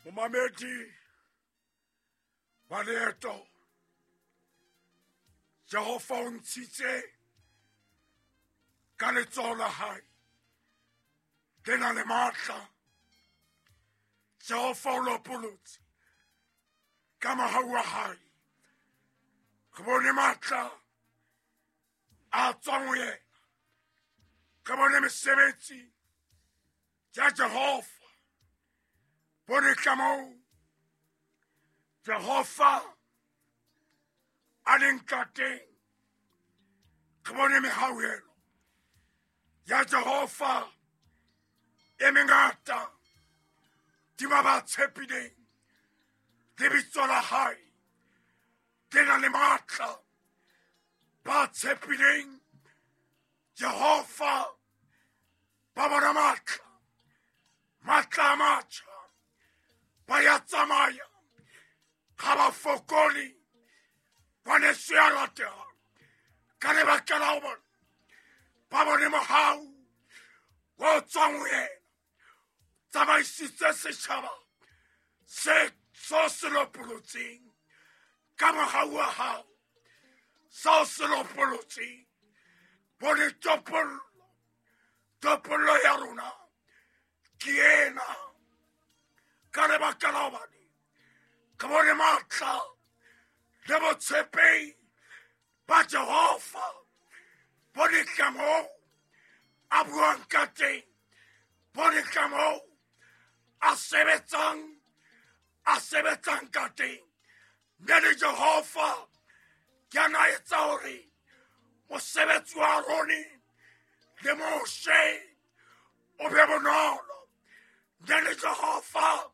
Momamedi wa leeto, Jehova o ntshitse ka letsoho la hae le na le matla. Jehova o lopolotse ka mohau wa hae. Re bone matla a tswang ho yena, re bone mesebetsi ya Jehova. Bone kamoo Jehova a leng ka teng, re bone mehauhelo ya Jehova e mengata tima ba tshepileng lebitso la hae le na le matla. Ba tshepileng Jehova ba bona matla, matla a matjha, ba ya tsamaya ga ba fokole. Ngwaneso ya ratehang, ka lebaka la ho bona ba bone mohau o tswang ho yena, tsamaisitse setjhaba se so se lopolotseng ka mohau wa hao, seo se lopolotseng. Bone topollo, topollo ya rona ke ena. Ka lebaka la hobane ke bone matla le botshepehi ba Jehova, bone kamoo a buang ka teng, bone kamoo a sebetsang ka teng. Mme le Jehova ke a na etsa hore mosebetsi wa Arone le Moshe o be bonolo. Mme le Jehova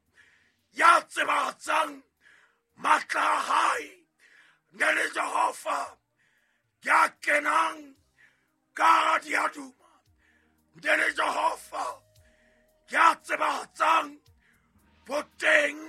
ya tsebahatsang matla a hae, mme le Jehova ya kenang ka hara diaduma, mme le Jehova ya tsebahatsang boteng